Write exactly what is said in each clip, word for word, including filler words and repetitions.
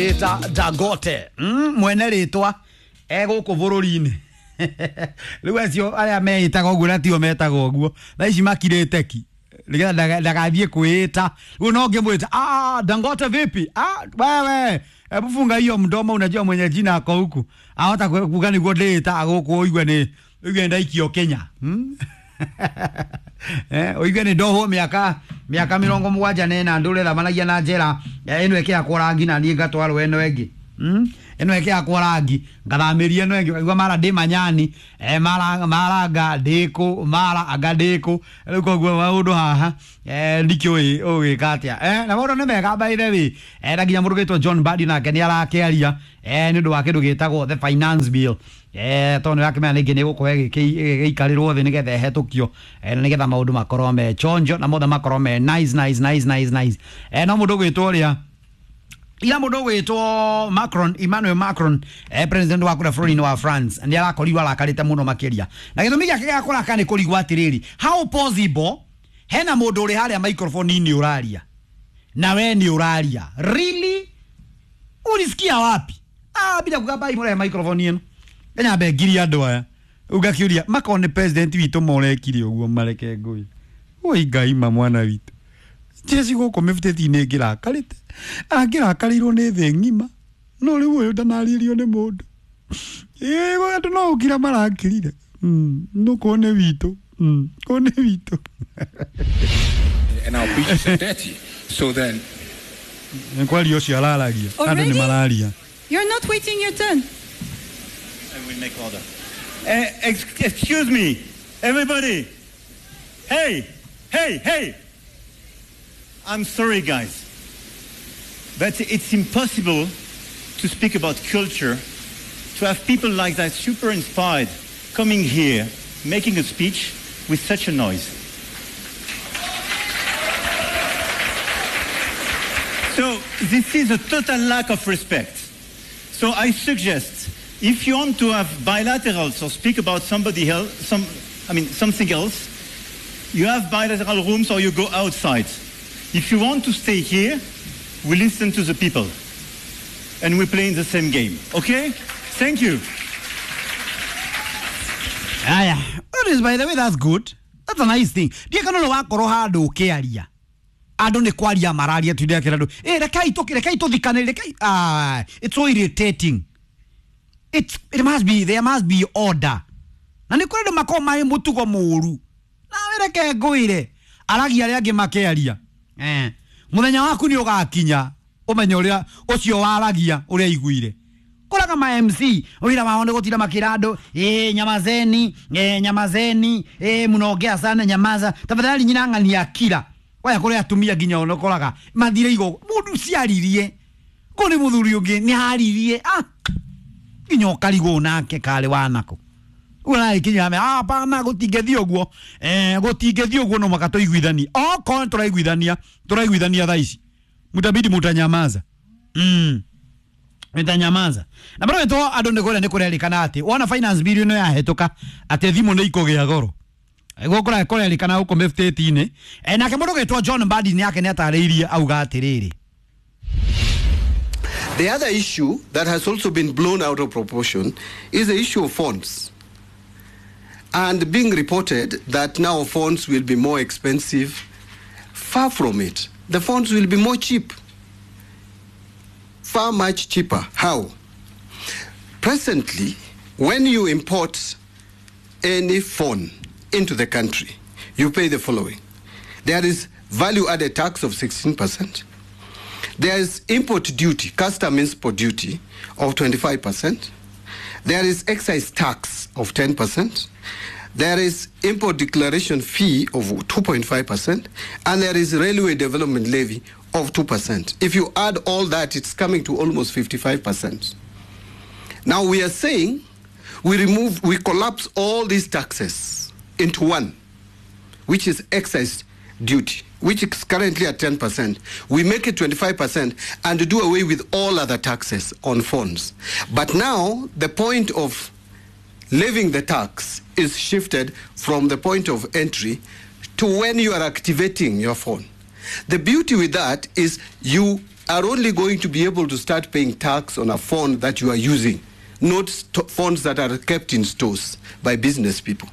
Ta Dangote mm, mwene ritwa egũkũ bũrũri-inĩ rĩu acio arĩa meĩtaga ũguo na tio metaga ũguo thaa ici makirĩte ki nĩgetha ndagathiĩ kwĩĩta rĩu no ngĩmwĩta ah, Dangote vipi, ah, wewe hebu funga hiyo mdomo, unajua mwenye jina ako huku ahota kuga nĩguo ndĩĩta gũkũ ũigue nĩ ũigue ndaikio Kenya hmm? Eh, ũigue nĩ ndohwo mĩaka mĩaka mĩrongo mũgwanja na ĩna ndũre thamanagia na njera ĩno ĩkĩhakwo rangi na niĩ ngatwarwo ĩno ĩngĩ mm? ĩno ĩkĩhakwo rangi ngathamĩria ĩno ĩngĩ ũkaigua mara ndĩ manyani eh, mara mara anga ndĩkũ mara anga ndĩkũ rĩu koguo maũndũ haha eh, ndikĩũĩ ũgĩka atĩa eh, na maũndũ nĩ mega by the way eh, na nginya mũndũ ũgĩtwo John Mbadi nake nĩ arakĩaria eh, nĩ ũndũ wa kĩndũ gĩtagwo the finance bill eh tondũ nĩrakĩmenya rĩngĩ nĩ gũkorwo ĩgĩikarĩrwo thĩ nĩgetha ĩhetũkio eh, na nĩgetha maũndũ makorwo me chonjo na mothe makorwo me nice nice nice nice nice eh, no mũndũ ũgwĩtwo ũrĩa ira mũndũ ũgwĩtwo Macron Emmanuel Macron eh, president wa kũrĩa bũrũri-inĩ wa France nĩ arakorirwo arakarĩte mũno makĩria na gĩtũmi gĩake gĩa kũrakara nĩ kũrigwo atĩrĩrĩ how possible hena mũndũ ũrĩ harĩa microphone-inĩ ũraria na we nĩ ũraria really ulisikia wapi ah bila kugamba imũrehe microphone ĩno nyambe ngiria andũ aya ũgakiũria makorwo nĩ president witũ morekire ũguo mareke ngũi oi ngai ma mwana witũ jeci gũkũ mĩbutĩti-inĩ ngĩrakarĩte angĩrakarĩirwo nĩ thĩ ng'ima no rĩu ũyũ ndanarĩrio nĩ mũndũ ĩĩ andũ no ũkira marakirire no kũo nĩ witũ kũo nĩ witũ And our beaches are dirty. So then nĩ kwaria ũcio araragia andũ nĩ mararia. You're not waiting your turn. I will make order. Uh, ex excuse me, everybody. Hey, hey, hey. I'm sorry, guys, but it's impossible to speak about culture, to have people like that super inspired coming here, making a speech with such a noise. So this is a total lack of respect. So I suggest, if you want to have bilaterals or speak about somebody else, some, I mean, something else, you have bilateral rooms or you go outside. If you want to stay here, we listen to the people and we play in the same game. Okay? Thank you. Aya, that is, by the way, that's good. That's a nice thing. Ndiä kana no wakorwo handå å kä aria andå nä kwaria mararia tu ndä andå eh rekai tå rekai tå thikane rekai ah it's so irritating. It's, it must be, there must be order. Na nä kå rä andå makorwo marä må tugo må ru nawe reke ngwä aragia arĩa angĩ makĩaria eh mũthenya waku nĩ ũgakinya ũmenye ũrĩa ũcio waragia ũrĩa iguire kũraga ma M C wĩra wao nĩ gũtinda makĩra andũ eh nyamazeni eh nyamazeni eh mũnongea sana nyamaza tafadhali nyina ng'ania kira waya kũrĩ atumia nginya onokoraga mathire igo mũndũ ciaririe kũ nĩ mũthuri ũngĩ nĩ haririe ah nginya ũkarigwo nake karĩ wanako ũragĩkinya ah hapana gũtingĩthiĩ ũguo eh gũtingĩthiĩ ũguo no mũhaka tũiguithanie okorwo tũraiguithania tũraiguithania thaa ici mutabidi mutanyamaza mm mutanyamaza na bado to andũ nĩ kũrĩa nĩ kũrerĩkana atĩ wona finance bill ĩno yahetũka atĩ thimũ nĩ ikũgĩa goro gũkũra kũrerĩkana gũkũ mĩbutĩti-inĩ eh nake mũndũ ũgĩtwo John Mbadi nĩ yake nĩ atarĩirie auga atĩrĩrĩ. The other issue that has also been blown out of proportion is the issue of phones. And being reported that now phones will be more expensive. Far from it. The phones will be more cheap. Far much cheaper. How? Presently, when you import any phone into the country, you pay the following. There is value-added tax of sixteen percent. There is import duty, custom import duty of twenty-five percent. There is excise tax of ten percent. There is import declaration fee of two point five percent. And there is railway development levy of two percent. If you add all that, it's coming to almost fifty-five percent. Now we are saying we remove, we collapse all these taxes into one, which is excise duty, which is currently at ten percent. We make it twenty-five percent and do away with all other taxes on phones. But now the point of levying the tax is shifted from the point of entry to when you are activating your phone. The beauty with that is you are only going to be able to start paying tax on a phone that you are using, not st- phones that are kept in stores by business people.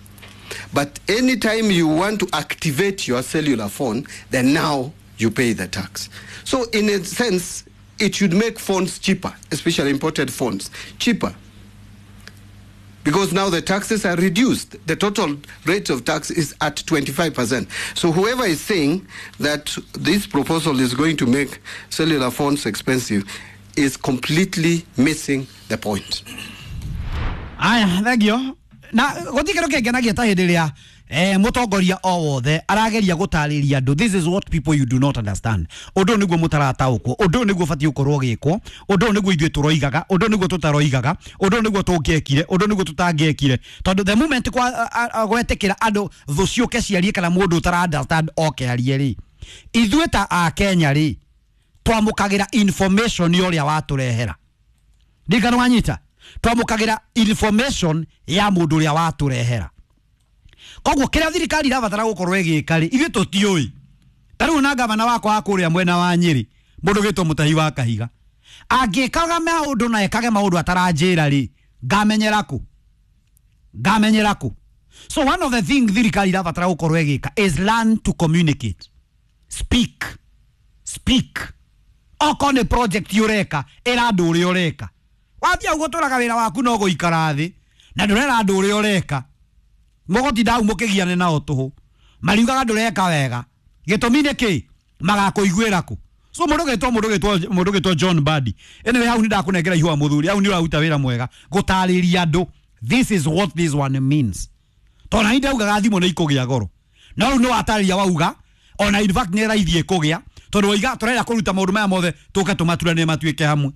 But anytime you want to activate your cellular phone, then now you pay the tax. So in a sense, it should make phones cheaper, especially imported phones, cheaper. Because now the taxes are reduced. The total rate of tax is at twenty-five percent. So whoever is saying that this proposal is going to make cellular phones expensive is completely missing the point. Aya, thank you. Na gutikero kengenagia ta hindi ria eh mutongoria o wothe arageria gutariria andu. This is what people you do not understand. Undu niguo mutarataukwo, undu niguo bati ukorwo gikwo, undu niguo ithuĩ turoigaga, undu niguo tutaroigaga, undu niguo tungiekire, undu niguo tutangiekire. Tondu the moment kwa gwetikira andu thu ciuke ciarie kana mundu utara understand oke arie ri, ithuĩ ta a Kenya ri twamukagira information yoria waturehera. Ndikana wanyita twamukagira information ya mundu uria waturehera. Koguo kiria thirikari irabatara gukorwo igika ri ithuĩ tutiũĩ. Ta rĩu na gavana wakwa wa kũrĩa mwena wa Nyĩrĩ, mũndũ gĩtwo Mũtahi wa Kahiga, angĩkaga maũndũ na ekage maũndũ ataranjĩra rĩ, ngamenyera kũ? Ngamenyera kũ? So one of the things thirikari irabatara gukorwo igika is learn to communicate. Speak. Speak. Okorwo nĩ project ũreka, ĩra andũ ũrĩa ũreka. Wathiĩ ũguo tũraga wĩra waku no gũikara thĩ na ndũrera andũ ũrĩa ũreka. Mũgũtinda hau mũkĩgiane nao tũhũ, mariugaga ndũreka wega. Gĩtũmi nĩ kĩ? Magakũiguĩra kũ? So mũndũ gĩtwo mũndũ gĩtwo mũndũ gĩtwo John Mbadi, anyway hau nĩ ndakũnengera ihũa mũthuri, hau nĩ ũraruta wĩra mwega gũtarĩria andũ this is what this one means. Tondũ na ndaugaga thimũ nĩ ikũgĩa goro, no rĩu nĩ watarĩria wauga ona in fact nĩ raithi ĩkũgĩa, tondũ waiga tũrenda kũruta maũndũ maya mothe tũke tũmaturanie matuĩke hamwe.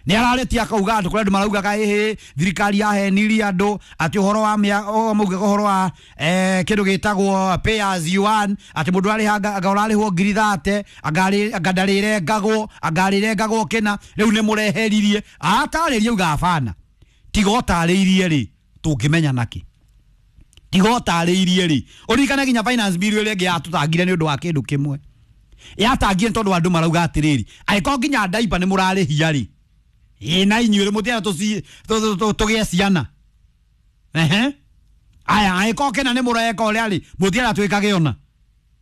Nĩ ararĩtie akauga andũ kũrĩa andũ maraugaga ĩhĩ thirikari yahenirie andũ atĩ ũhoro wa maugaga ũhoro wa eh, kĩndũ gĩtagwo pay as you earn, atĩ mũndũ arĩha anga ũrarĩhwo ngiri thate anga ndarĩrengagwo anga arĩrengagwo kĩna, rĩu nĩ mũreheririe. Atarĩrie auga abana, tiga ũtarĩirie rĩ tũngĩmenya nakĩ? Tiga ũtarĩirie rĩ, ũririkane nginya finance bill ĩrĩa ĩngĩ yatũtangire nĩ ũndũ wa kĩndũ kĩmwe, yatangire tondũ andũ marauga atĩrĩrĩ, angĩkorwo nginya ndaipa nĩ mũrarĩhia rĩ, ĩ na inyuĩ rĩ mũtienda tũgĩe ciana. Ehe, aya angĩkorwo kĩna nĩ mũreka ũrĩa rĩ, mũtienda twĩkage ona.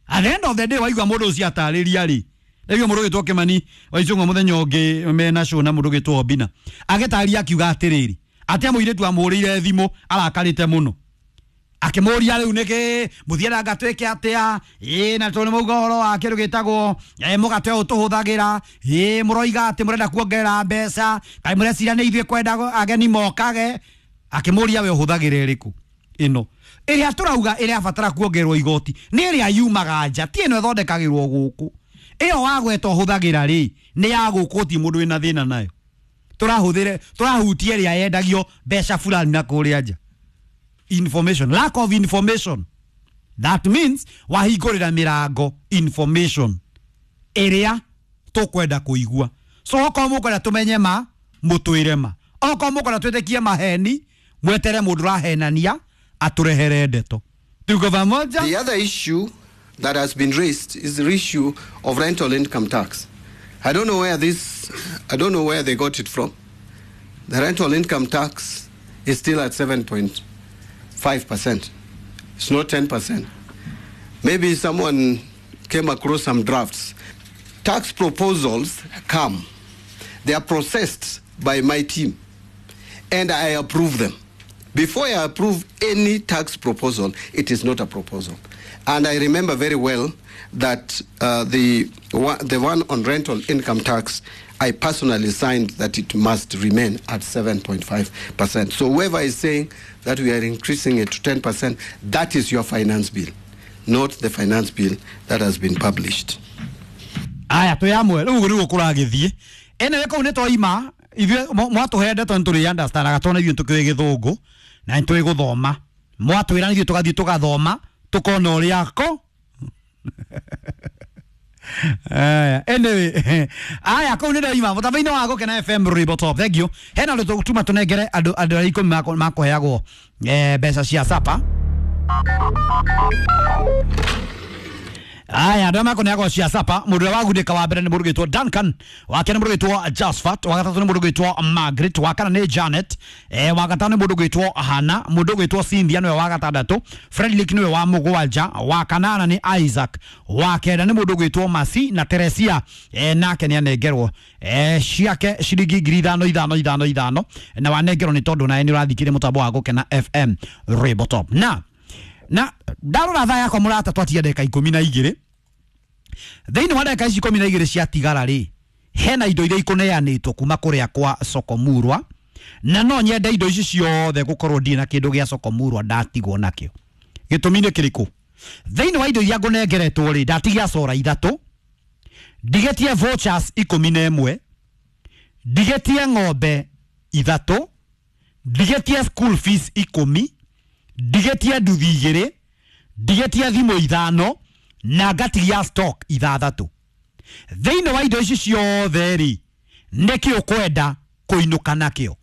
At the end of the day waigua mũndũ ũcio atarĩria rĩ, rĩu mũndũ ũgĩtwo Kĩmani wa Icũng'wa mũthenya ũngĩ mena show na mũndũ ũgĩtwo Obina agĩtarĩria akiuga atĩrĩrĩ, atĩ mũirĩtu amũhũrĩire thimũ arakarĩte mũno, akĩmũria rĩu nĩkĩ mũthiaga twĩke atĩa, ĩ na tondũ nĩ mauga ũhoro wa kĩndũ gĩtagwo mũgate ũyũ tũhũthagĩra, ĩ mũroiga atĩ mũrenda kuongerera mbeca, kaĩ mũreciria nĩ ithuĩ kwenda ageni mokage. Akĩmũria we ũhũthagĩra ĩrĩkũ? Ĩno ĩrĩa tũrauga ĩrĩa batara kuongererwo igoti nĩ ĩrĩa yumaga nja, ti ĩno ĩthondekagĩrwo gũkũ. Ĩyo wagweta ũhũthagĩra rĩ nĩ ya gũkũ, ti mũndũ wĩna thĩna nayo. Tũrahũthĩre tũrahutia ĩrĩa yendagio mbeca fulani na kũrĩa nja. Information, lack of information, that means wahingũrĩra mĩrango information ĩrĩa tũkwenda kũigua. So okorwo mũkwenda tũmenye ma, mũtwĩre ma. Okorwo mũkwenda twĩtĩkie maheni, mwetere mũndũ ũrahenania atũrehere ndeto. Tuko pamoja? The other issue that has been raised is the issue of rental income tax. I don't know where this, I don't know where they got it from. The rental income tax is still at seven point five percent. It's not ten percent. Maybe someone came across some drafts. Tax proposals come. They are processed by my team, and I approve them. Before I approve any tax proposal, it is not a proposal. And I remember very well that uh, the, the one on rental income tax, I personally signed that it must remain at seven point five percent. So whoever is saying that we are increasing it to ten percent, that is your finance bill, not the finance bill that has been published. Aya, tuyamwe, rĩu nĩguo kũragĩthiĩ. Anyway, kũu nĩ twaima, ithuĩ mwatũhe ndeto nĩ tũrĩ understandaga tondũ ithuĩ tũkĩũĩ gĩthũngũ na nĩ tũĩ gũthoma. Mwatwĩra ithuĩ tũgathiĩ tũgathoma, tũkona ũrĩa ko. Aya, anyway, aya kũu nĩ ndoima mũtambo-inĩ wa Gũkena F M Rwĩmbo Top. Thank you. Hena ũndũ tũgũtuma tũnengere andũ andũ arĩa ikũmi makũheagwo mbeca cia sapa. Aya, andå arĩa mekũneagwo cia sapa, mũndũ ũrĩa wagundĩka wa mbere nĩ mũndũ ũgwĩtwo Duncan, wa kerĩ nĩ mũndũ ũgwĩtwo Josphat, wa gatatũ nĩ mũndũ ũgwĩtwo Margaret, wa kana nĩ Janet, eh, wa gatano nĩ mũndũ ũgwĩtwo Hana, mũndũ ũgwĩtwo Cynthia nĩwe wa gatandatũ, Frederick nĩwe wa mũgwanja, wa kanana nĩ Isaac, wa kenda nĩ mũndũ ũgwĩtwo Masi na Teresia, eh, nake nĩ anengerwo eh, ciake ciringi ngiri ithano ithano ithano ithano, na wanengerwo nĩ tondũ nawe nĩ ũrathikĩrĩria mũtambo wa Gũkena F M Rainbow Top. Na na ndarora thaa yakwa mũrata, twatia ndagĩka ikũmi na igĩrĩ. Thĩinĩ wa ndagĩka ici ikũmi na igĩrĩ ciatigara rĩ, hena indo iria ikũneanĩtwo kuma kũrĩa kwa Sokomurwa, na no nyende indo ici ciothe gũkorwo ndirĩ na kĩndũ gĩa Sokomurwa ndatigwo nakĩo. Gĩtũmi nĩ kĩrĩkũ? Thĩinĩ wa indo iria ngũnengeretwo rĩ, ndatigia cora ithatũ, ndigetie vouchers ikũmi na ĩmwe, ndigetie ng'ombe ithatũ, ndigetie school fees ikũmi, ndigetie nduthi igĩrĩ, ndigetie thimũ ithano, na ngatigia stock ithathatũ. Thĩinĩ wa indo ici ciothe rĩ, nĩkĩ ũkwenda kũinũka nakĩo?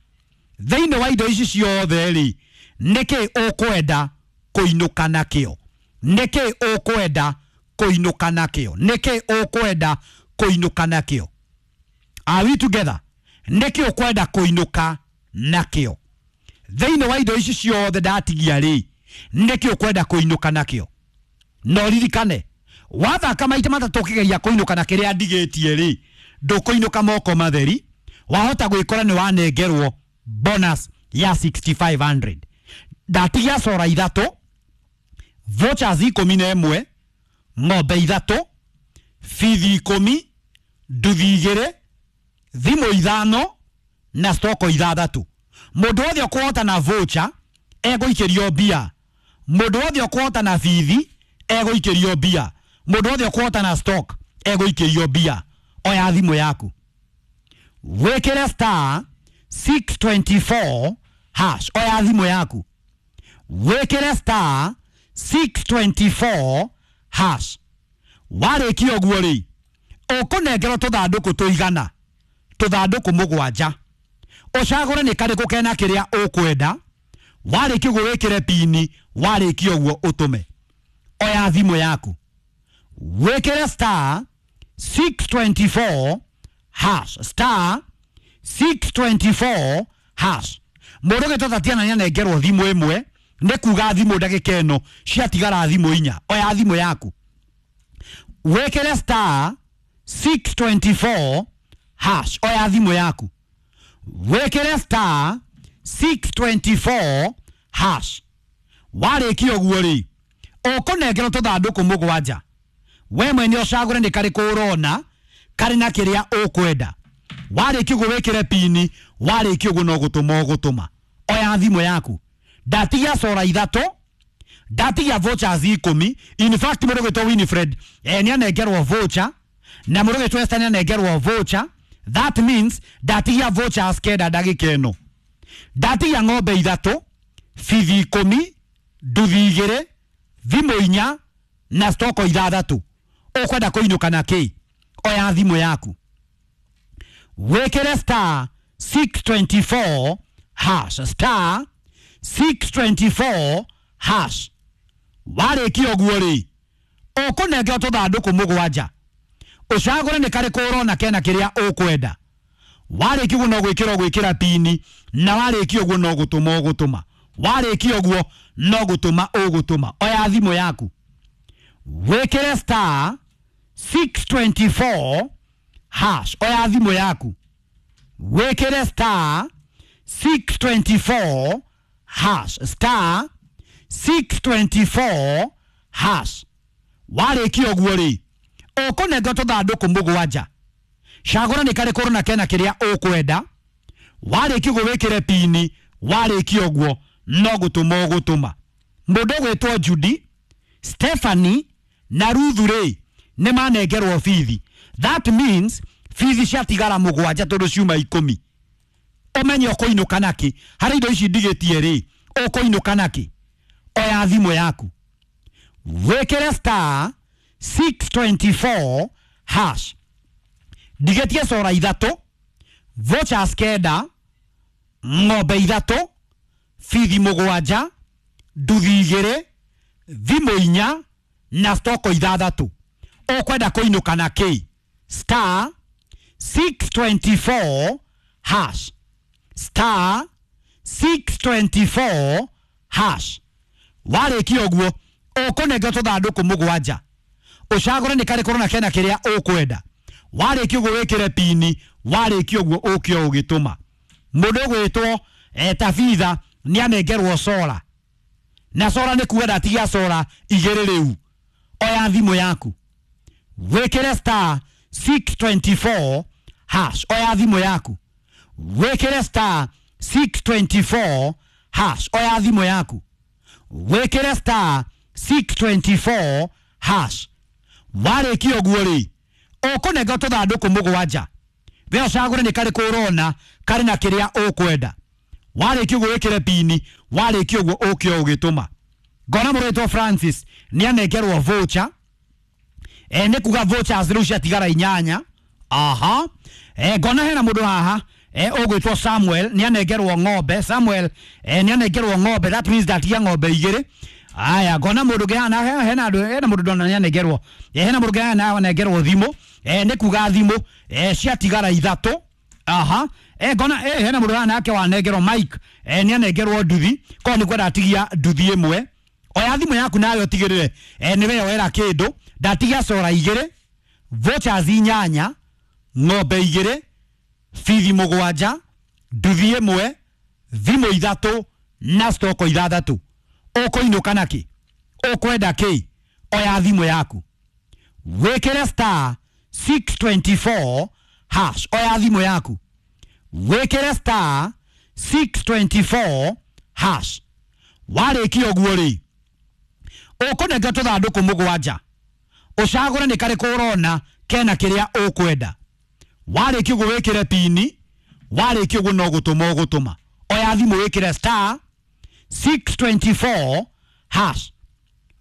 Thĩinĩ wa indo ici ciothe rĩ, nĩkĩ ũkwenda kũinũka nakĩo? Nĩkĩ ũkwenda kũinũka nakĩo? Nĩkĩ ũkwenda kũinũka nakĩo? Are we together? Nĩkĩ ũkwenda kũinũka nakĩo? Thĩinĩ wa indo ici ciothe ndatigia rĩ, nĩkĩ ũkwenda kũinũka nakĩo? No ririkane, wathaka maita matatũ ũkĩgeria kũinũka na kĩrĩa ndigĩtie rĩ, ndũkũinũka moko matheri, wahota gwĩkora nĩ wanengerwo bonus ya six thousand five hundred. Ndatigia cora ithatũ, vouchers ikũmi na ĩmwe, ng'ombe ithatũ, bithi ikũmi, nduthi igĩrĩ, thimũ ithano na stoko ithathatũ. Mũndũ wothe ũkũhota na voucher egũikĩrio mbia, mũndũ wothe ũkũhota na bithi egũikĩrio mbia, mũndũ wothe ũkũhota na stock egũikĩrio mbia. Oya thimũ yaku, wĩkĩre star six twenty-four hash. Oya thimũ yaku, wĩkĩre star six twenty-four hash. Warĩkia ũguo rĩ, ũkũnengerwo tũthandũkũ tũigana tũthandũkũ mũgwanja, ũcagũre nĩ karĩkũ kena kĩrĩa ũkwenda. Warĩkia ũguo wĩkĩre pini, warĩkia ũguo ũtũme. Oya thimũ yaku, wĩkĩre star six twenty-four hash, star six twenty-four hash. Mũndũ ũgĩtwo Tatiana nĩanengerwo thimũ ĩmwe, nĩ kuga thimũ ndagĩka ĩno ciatigara thimũ inya. Oya thimũ yaku, wĩkĩre star six twenty-four hash. Oya thimũ yaku, wĩkĩre star six twenty-four hash. Warĩkia ũguo rĩ, ũkũnengerwo tũthandũkũ mũgwanja, we mwene ũcagũre nĩ karĩkũ ũrona karĩ na kĩrĩa ũkwenda. Warĩkia ũguo wĩkĩre pini, warĩkia ũguo no gũtũma ũgũtũma. Oya thimũ yaku. Ndatigia cora ithatũ, ndatigia vouchers ikũmi. In fact, mũndũ ũgwĩtwo Winifred eh, nĩ anengerwo voucher, na mũndũ ũgwĩtwo Esther nĩ anengerwo voucher. That means ndatigia vouchers kenda ndagĩka ĩno. Ndatigia ng'ombe ithatũ, bithi ikũmi, nduthi igĩrĩ, thimũ inya na stoko ithathatũ. Ũkwenda kũinũka na kĩ? Oya thimũ yaku, wĩkĩre star six twenty-four hash, star six twenty-four hash. Warĩkia ũguo rĩ, ũkũnengerwo tũthandũkũ mũgwanja, ũcagũre nĩ karĩkũ ũrona kena kĩrĩa ũkwenda. Warĩkia ũguo no gwĩkĩra ũgwĩkĩra pini, na warĩkia ũguo no gũtũma ũgũtũma. Warĩkia ũguo no gũtũma ũgũtũma. Oya thimũ yaku, wĩkĩre star six twenty-four hash. Oya thimũ yaku, wĩkĩre star six twenty-four hash, star six twenty-four hash. Warĩkia ũguo rĩ, ũkũnengerwo tũthandũkũ mũgwanja, cagũra nĩ karĩkũ ũrona kena kĩrĩa ũkwenda. Warĩkia ũguo wĩkĩre pini, warĩkia ũguo no gũtũma ũgũtũma. Mũndũ ũgwĩtwo Judy, Stephanie na Ruthu rĩ, nĩ manengerwo bithi. That means bithi ciatigara mũgwanja tondũ ciuma ikũmi. Ũmenye ũkũinũka nakĩ harĩ indo ici ndigĩtie rĩ, ũkũinũka nakĩ? Oya thimũ yaku, wĩkĩre star six twenty-four hash. Ndigĩtie cora ithatũ, vouchers kenda, ng'ombe ithatũ, bithi mũgwanja, nduthi igĩrĩ, thimũ inya na stoko ithathatũ. Ũkwenda kũinũka na kĩ? Star six twenty-four hash. Star six twenty-four hash. Warĩkia ũguo ũkũnengerwo tũthandũkũ mũgwanja, ũcagũre nĩ karĩkũ ũrona kena kĩrĩa ũkwenda. Warĩkia ũguo wĩkĩre pini, warĩkia ũguo ũke ũgĩtũma. Mũndũ ũgwĩtwo eh, Tabitha nĩ anengerwo sora, na sora nĩ kuga ndatigia sora igĩrĩ rĩu. Oya thimũ yaku wĩkĩre star six twenty-four hash. Oya thimũ yaku wĩkĩre star six twenty-four hash. Oya thimũ yaku wĩkĩre star six twenty-four hash. Warĩkia ũguo rĩ, ũkũnengerwo tũthandũkũ mũgwanja, we ũcagũre nĩ karĩkũ ũrona karĩ na kĩrĩa ũkwenda. Warĩkia ũguo wĩkĩre pini, warĩkia ũguo ũke ũgĩtũma. Ngona mũrĩtwo Francis nĩ anengerwo voucher. E, nĩ kuga vouchers rĩu ciatigara inyanya. Aha. E, ngona hena mũndũ haha e, ũgwĩtwo Samuel nĩ anengerwo ng'ombe. Samuel e, nĩ anengerwo ng'ombe, that means ndatigia ng'ombe igĩrĩ. Aya, ngona mũndũ ũngĩ haha, hena andũ, hena mũndũ ndona nĩ anengerwo. E, hena mũndũ ũngĩ haha anengerwo thimũ. E, nĩ kuga thimũ e, ciatigara ithatũ. Aha. E, ngona e, hena mũndũ haha nake wanengerwo Mike. E, nĩ anengerwo nduthi, koguo nĩ kwenda atigia nduthi ĩmwe. Oya thimũ yaku nawe ũtigĩrĩre e, nĩ weyoera kĩndũ. Ndatigia sora igĩrĩ, vouchers inyanya, ng'ombe igĩrĩ, bithi mũgwanja, nduthi ĩmwe, thimũ ithatũ na stoko ithathatũ. Ũkũinũka na kĩ? Ũkwenda kĩ? Oya thimũ yaku wĩkĩre star six twenty-four hash. Oya thimũ yaku wĩkĩre star six twenty-four hash. Warĩkia ũguo rĩ, ũkũnengerwo tũthandũkũ mũgwanja, ũcagũre nĩ karĩkũ ũrona kena kĩrĩa ũkwenda. Warĩkia ũguo wĩkĩre pini, warĩkia ũguo no gũtũma ũgũtũma. Oya thimũ wĩkĩre star six twenty-four hash.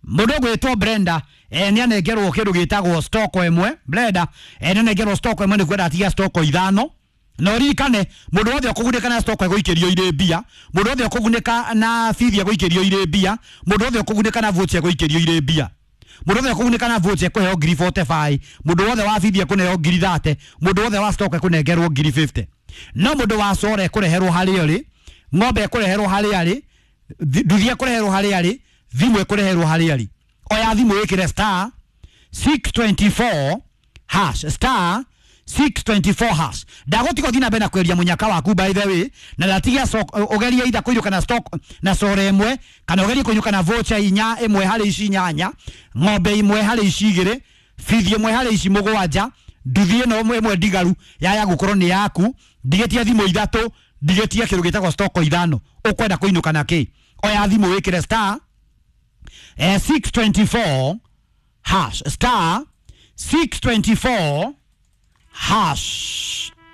Mũndũ ũgwĩtwo Brenda e, nĩ anengerwo kĩndũ gĩtagwo stoko ĩmwe. Brenda e, nĩ anengerwo stoko ĩmwe, nĩ kwenda atigia stoko ithano. Na ũririkane mũndũ wothe ũkũgunĩka na stoko egũikĩrio irĩ mbia, mũndũ wothe ũkũgunĩka na bithi egũikĩrio irĩ mbia, mũndũ wothe ũkũgunĩka na voucher egũikĩrio irĩ mbia, mũndũ wothe ũkũgunĩka na voucher ekũheo ngiri forty-five, mũndũ wothe wa bithi ekũneo ngiri thirty, mũndũ wothe wa stoko ekũnengerwo ngiri fifty. No mũndũ wa sora ekũreherwo harĩa ũrĩ, ng'ombe ekũreherwo harĩa arĩ, nduthi ekũreherwo harĩa arĩ, thimũ ekũreherwo harĩa arĩ. Oya thimũ wĩkĩre star six twenty-four hash. Star six twenty-four hash. Ndagũtiga ũthiĩ na mbere na kweria mũnyaka waku by the way, na ndatigia ũgerie either kũinũka na stock na sora ĩmwe, kana ũgerie kũinũka na voucher inya ĩmwe harĩ ici inyanya, ng'ombe ĩmwe harĩ ici igĩrĩ, bithi ĩmwe harĩ ici mũgwanja, nduthi ĩno ĩmwe ndigaru yaya gũkorwo nĩ yaku, ndigĩtie thimũ ithatũ, ndigĩtie kĩndũ gĩtagwo stoko ithano. Ũkwenda kũinũka na kĩ? Oya thimũ wĩkĩre star eh, six twenty-four hash. Star six twenty-four hash.